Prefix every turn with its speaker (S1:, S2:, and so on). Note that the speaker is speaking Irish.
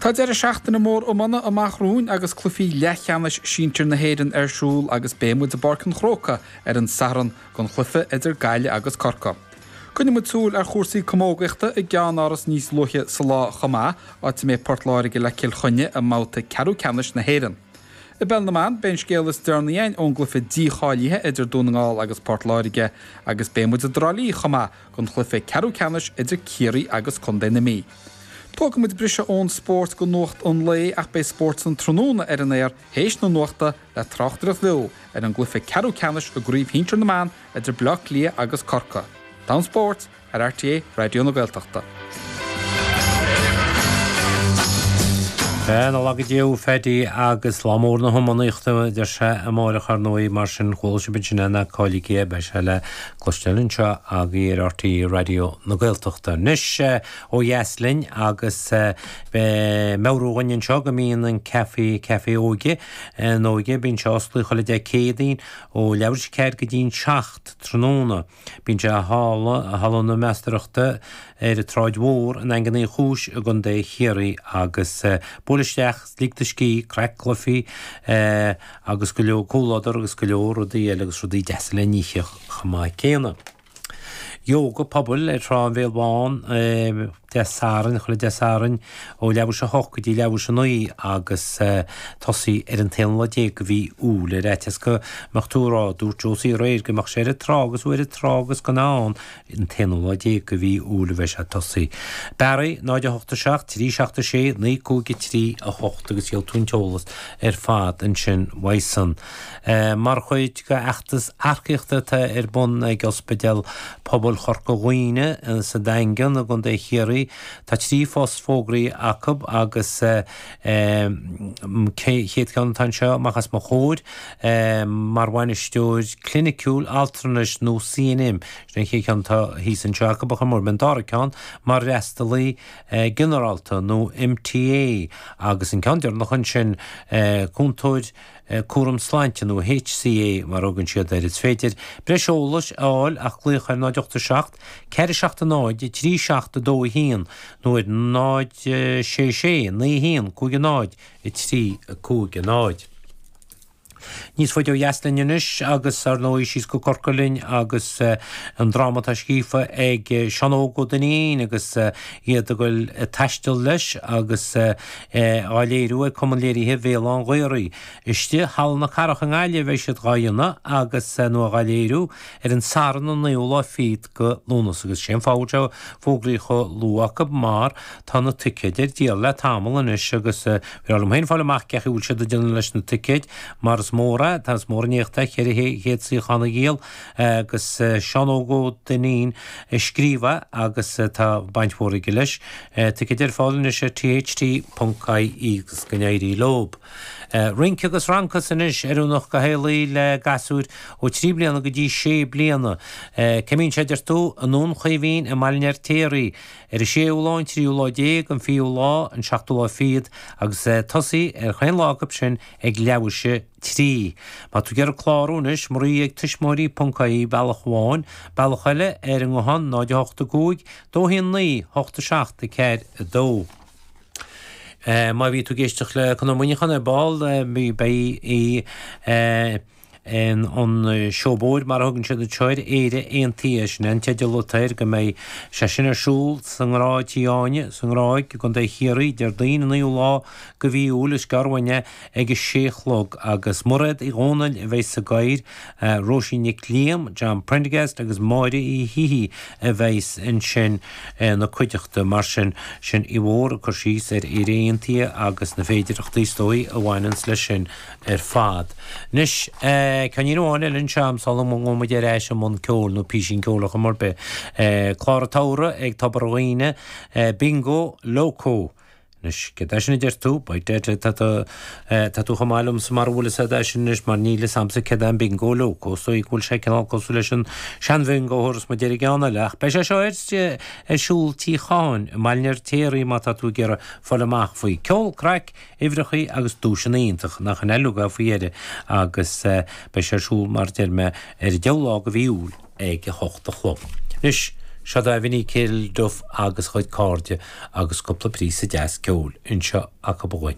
S1: Tá deireadh seachtaine mór iomána amach romhainn agus cluichí leathcheannais sinsir na hÉireann ar siúl agus beidh muid i bPáirc an Chrócaigh ar an Satharn don chluiche idir Gaillimh agus Corcaigh. Coinneoidh muid súil ar chúrsaí camógaíochta i gceannáras níos luaithe sa lá chomh maith, áit a mbeidh Port Láirge le Cill Chainnigh i mbabhta ceathrú ceannais na hÉireann. I bPeil na mBan, beidh an scéal is deireanaí againn ón gcluiche dícháilithe idir Dún na nGall agus Port Láirge agus beidh muid i dTrá Lí chomh maith don chluiche ceathrú ceannais idir Ciarraí agus Contae na Mí. Tógfaidh muid briseadh ón spórt go nuacht an lae ach beidh Spórt san Tráthnóna ar an aer théis na nuachta le tráchtaireacht bheo ar an gcluiche ceathrú ceannais i gCraobh Shinsir na mBan idir Bleá Cliath agus Corcaigh. Domhan Spóirt ar RTÉ Raidió na Gaeltachta.
S2: Sea, na laga Dé thú a Phaddy agus lá mór na hiománaíochta a deir sé amáireach ar ndóigh mar sin chuala sibh ansin é ná cailligí é beidh sé le cloisteáil anseo agaibh ar RTÉ Raidió na Gaeltachta. Anois ó dheas linn agus meabhrú dhúinn anseo go mbíonn an Café, Café Óige, an Óige, bíonn sé osclaithe chuile Dé Céadaoin ó leathuair tar éis a 4 go dtí'n 7 tráthnóna. Bíonn sé i Halla, Halla na Meastóireachta ar an tSráid Mhór i nDaingean Uí Chúis i gContae Chiarraí agus buail isteach, lig do scíth, craic, cluichí agus go leor comhluadar agus go leor rudaí eile agus rudaí deasa le n-ithe chomh maith céanna. Yoga pobail ar Thrá an Bhéil Bháin Dé Sathairn, chuile Dé Sathairn ó leathuair tar éis a 8 go dtí leathuair tar éis a 9 agus tosaí ar an t-aon lá déag de mhí Iúil. Ar fhaitíos go mbeadh tú ag rá, dúirt Josie aréir go mbeadh sé ar an trá agus thú ar an trá agus gan ann, an t-aonú lá déag de mhí Iúil a bheidh sé ag tosaí. Barry, 0 8 7 3 7 6 9 5 3 8 agus gheobhaidh tú an t-eolas ar fad ansin uaidhsean. Mar chuid de fheachtas earcaíochta atá ar bun ag Ospidéal Pobail Chorca Dhuibhne sa Daingean i gContae Chiarraí, tá 3 phost fógraithe acu agus chéad cheann atá anseo amach os mo chomhair mar bhainisteoir cliniciúil altranais nó CNM, sin an chéad cheann atá thíos anseo acu a chomóradh, an dara ceann mar fhreastalaí ginearálta nó MTA agus an ceann deireanach ansin cúntóir Cúram Sláinte nó HCA mar a thugann siad air. Is féidir breis eolais a fháil ach glaoch ar 0 8 7 4 7 0 3 7 2 1 nó ar 0 6 6 9 1 5 0 3 5 0. Níos faide ó dheas linn anois agus ar ndóigh síos go Corcaigh linn agus an dráma atá scríofa ag Seán Óg Ó Duinnín agus iad ag dul ag taisteal leis agus á léiriú ag Cumann Léirithe Bhéal Átha'n Ghaorthaidh. Istigh i Halla na Cathrach i nGaillimh a bheidh siad dhá dhéanamh agus, nó dhá léiriú, ar an Satharn an naoú lá fichead go Lúnasa agus sé an fáth a bhfuil sé fógraithe chomh luath acu mar tá na ticéid ar díol le tamall anois agus bhreá liom féin fáil amach cén chaoi a bhfuil siad ag déanamh leis na ticéid mar is mór é, tá is mór an éacht é 400 suíochán a dhíol agus Seán Óg Ó Duinnín a scríobh é agus tá baint mhór aige leis. Ticéid ar fáil anois ar tht.ie agus go n-éirí leob. Rince agus Rancas anois, oiriúnach do theaghlaigh le gasúir ó 3 bliana go dtí 6 bliana. Cá mbíonn sé, deir tú? I nDún Chaoimhín i mBaile an Fheirtéaraigh ar an séú lá, an tríú lá déag, an fichiú lá, an seachtú lá fichead agus tosaí ar chaon lá acu sin ag leathuair tar éis a 3. Má tá tú ag iarraidh clárú anois, Marie ag tuismitheoirí ponc ie bealach amháin, bealach eile ar an nguthán 0 8 5 2 1 9 8 7 4 2. Má bhí tú ag éisteacht le Conor Muineachán ar ball, beidh í an seó bóthair mar a thugann siad anseo air, Éire Aontaithe, sin é an teideal atá air, go mbeidh sé sin ar siúl sa nGráig, Tí Áine, sa nGráig i gContae Chiarraí, Déardaoin an 9ú lá de mhí Iúil, is gearr uainn é, ag a sé a chlog agus Mairéad Uí Dhomhnaill a bheidh sa gcathaoir, Róisín Nic Liam, John Prendergast agus Máire Uí hÍthí a bheidhs ansin ina cuideachta. Mar sin, sin í mhór ag cur síos ar Éire Aontaithe agus na féidireachtaí is dóigh a bhaineanns leis sin ar fad. Anois, ceainnín amháin eile anseo a'm sula ngabhfaidh muid ar ais i mbun ceoil nó písín ceoil ar chuma ar bith. Clár an tsamhraidh ag Tobar an Ghíne, Bingo Loco. Anois, céard é sin a deir tú? By dead, tá tú, tá tú chomh maith liomsa mara bhfuil fhios a'd é sin anois mar níl fhios a'msa céard é an Bingo Loco. Is dóigh go bhfuil sé cineál cosúil leis an sean-bhingo thabharfas muid air an gceann eile. Ach beidh sé seo ar, ar siúl Tí Chatháin i mBaile an Fheirtéaraigh má tá tú ag iarraidh fáil amach faoi. Ceol, craic, uimhreachaí agus duaiseanna iontach, nach in uilig é faoi dheireadh agus beidh sé ar siúl mar deir mé ar an deichiú lá de mhí Iúil ag a hocht a chlog. Anois, Seo daoibh Vinny Kilduff agus a chuid cairde agus cúpla píosa deas ceoil anseo acu dhúinn.